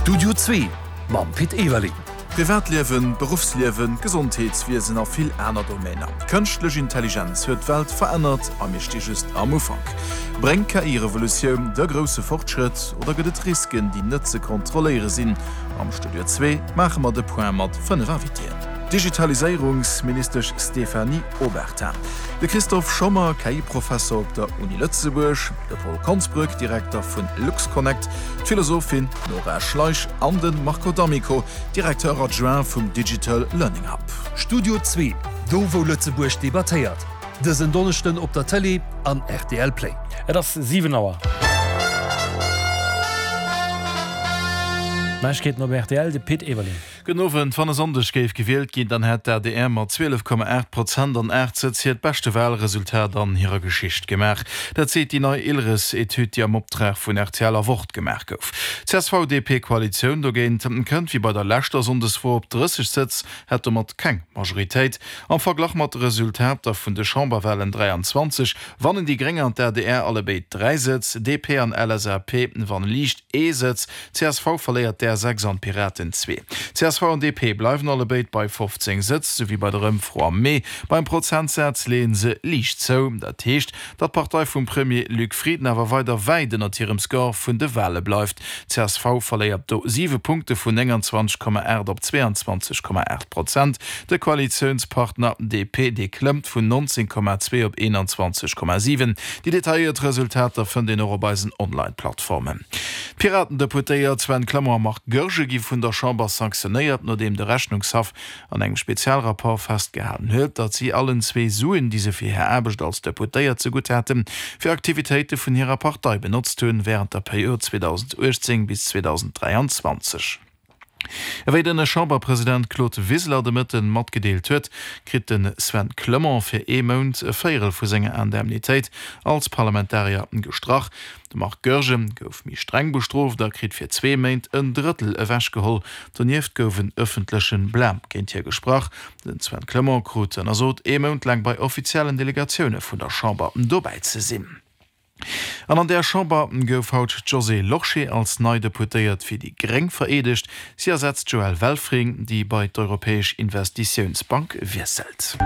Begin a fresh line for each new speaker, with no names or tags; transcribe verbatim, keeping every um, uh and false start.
Studio Zwee mam Pit Everling.
Privatliewen, Beruffsliewen, Gesondheetswiesen a vill aner Domainer. D'Kënschtlech Intelligenz huet d'Welt verännert a mir sti just am Ufank. Bréngt d'KI-Revolutioun de grousse Fortschrëtt oder gëtt et Risken, déi net ze kontrolléiere sinn? Am Studio Zwee maache mer de Point mat fënnef Invitéen. D'Digitaliséierungsministesch Stéphanie Obertin, de Christophe Schommer, KI-Professer op der Uni Lëtzebuerg, de Paul Konsbrück, Direkter vun LuxConnect, d'Philosophin Nora Schleich an de Marco D'Amico, Directeur adjoint vum Digital Learning Hub.
Studio Zwee, do wou Lëtzebuerg debattéiert, dësen Donneschden op der Tëlee an rtl Play.
Et ass siwen Auer. Neiegkeeten op rtl, de Pit Everling.
Gudden Owend. Wann e Sonndeg géif gewielt ginn, dann hätt d'ADR mat zwielef Komma aacht Prozent an aacht Sëtz hiert beschte Walresultat an hirer Geschicht gemaach. Dat seet déi nei ILRES-Etüd, déi am Optrag vun rtl a Wort gemaach gouf. D'CSV-DP-Koalitioun dogéint kënnt wéi bei der leschter Sonndesfro op drësseg Sëtz, hätt domat keng Majoritéit. Am Verglach mat de Resultater vun de Chamberwalen dräianzwanzeg wannen déi Gréng an d'ADR allebéid dräi Sëtz, D P an L S A P wanne liicht ee Sëtz, C S V verléiert där sechs an d'Piraten zwee. C S V an D P bleiwen allebéid bei fofzéng Sëtz, sou wéi bei der Ëmfro am Mee. Beim Prozentsaz leeë se liicht zou. Dat heescht, datt d'Partei vum Premier Luc Frieden awer weider wäit ënnert hirem Score vun de Wale bleift. C S V verléiert do siwe Punkte vun nénganzwanzeg Komma aacht op zweeanzwanzeg Komma aacht Prozent. De Koalitiounspartner D P, dee klëmmt vun nonzéng Komma zwee op eenanzwanzeg Komma siwen. Déi detailléiert Resultater fënnt een och op eisen Online-Plattformen. D'Piraten-Deputéiert Sven Clement a Marc Goergen gi vun der Chamber sanktionéiert, nodeem de Rechnungshaff an engem Spezialrapport festgehalen huet, datt si allen zwee Suen, déi se fir hir Aarbecht als Deputéiert zegutt haten, fir Aktivitéite vun hirer Partei benotzt hunn, wärend der Period zweedausendachtzéng bis zweedausendräianzwanzeg. Ewéi den Chamberpresident Claude Wiseler de Mëtten matgedeelt huet, kritt de Sven Clement fir ee Mount e Véierel vu senger Indemnitéit als Parlamentarier gestrach. De Marc Goergen gouf méi streng bestrooft a kritt fir zwee Méint en Drëttel ewechgeholl. Donieft gouf en ëffentleche Blâme géint hie gesprach. Den Sven Clement krut ënnersot, ee Mount laang bei offiziellen Delegatioune vun der Chamber dobäi ze sinn. An an der Chamber gouf haut d'Josée Lorsché als nei Deputéiert fir déi Gréng vereedegt. Si ersetzt d'Joëlle Welfring, déi bei d'Europäesch Investitiounsbank wiesselt.